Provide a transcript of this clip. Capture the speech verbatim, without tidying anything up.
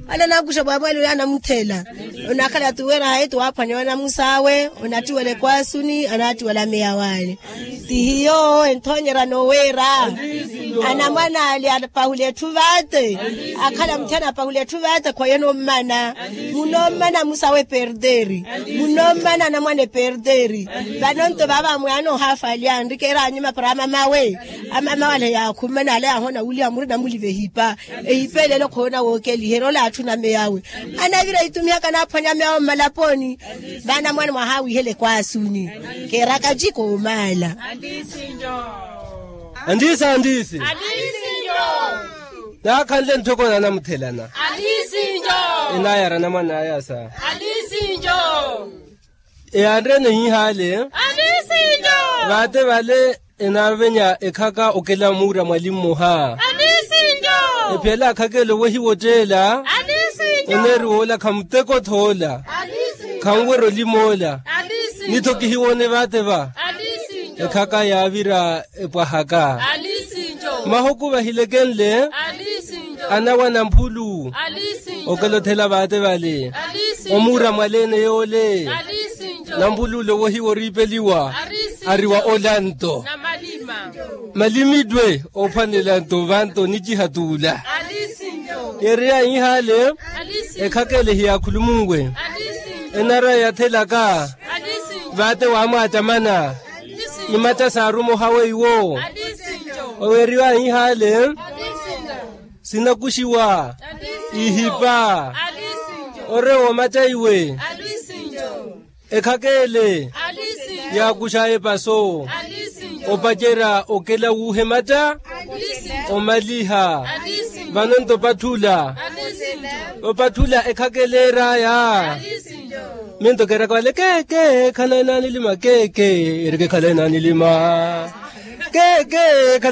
Wala nakuxa bwabwali oyo anamuthela. Onakhala tuwera hayi tuwaphwanya wanamus'awe. Onattiwela ekwasuni anattiwela meya wale. Tihiyo enthoonyerya noweera. Anamwana ali apahula etthu vate. Akhala mutthana apahula etthu vate khwayena ommana. Munommana musawe perderi. Munommana anamwana eperderi. Vanonto vava mwaana ohafalya nrikeera anyuma para amamawe. Amamawe ale yaakhummana ale yahoona wulya murina muliva ehipa. Ehipa elelo khoona wookeliherya ola atthu na meyawe. Anavira itumihaka naaphwanya meyawe mmalaponi. Vana mwaana mwahawihela ekwaasuni. Keeraka jiko omaala. Andiisi andiisi. Naakhanle ntthoko nanamuthelana. Enayara namwan'aya sa. Eyanreene hihaale. Vaate vale enaavenya ekhaka okela muura mwali mmoha. Ephiyala akhakele owehiwa otteela. Oneeriwa ola khamuteko thoola. Khanwerya olimoola. Ni-tho kihiwoone vaate va. Ekhaka yaavira epwahaka. Mahuku vahilekenle. Anawa namphulu. Okela othela vaate vale. Omuura mwaleene yoole. Nampuluule owehiwa oriipeliwa. Ariwa olanto. Malimittwe ophwanela nto vanto niciha tuula. Yeereya ihaale. Ekhakele hiyaakhulumunwe. Enaraya yathelaka. Vaate waamwaacamana. Imatta saarumoha weiwo. Oweeriwa ihaale. Sinakuxiwa. Ihipa. Ore woomatta iwe. Ekhakele. Yaakuxaya epaso. Opacerya okela wuuhematta. Omaliha. Vano nto opatthula. Opatthula ekhakele eraya. Minto keeraka vale keke khana enaanilima keke. Erike khala enaanilima. Keke.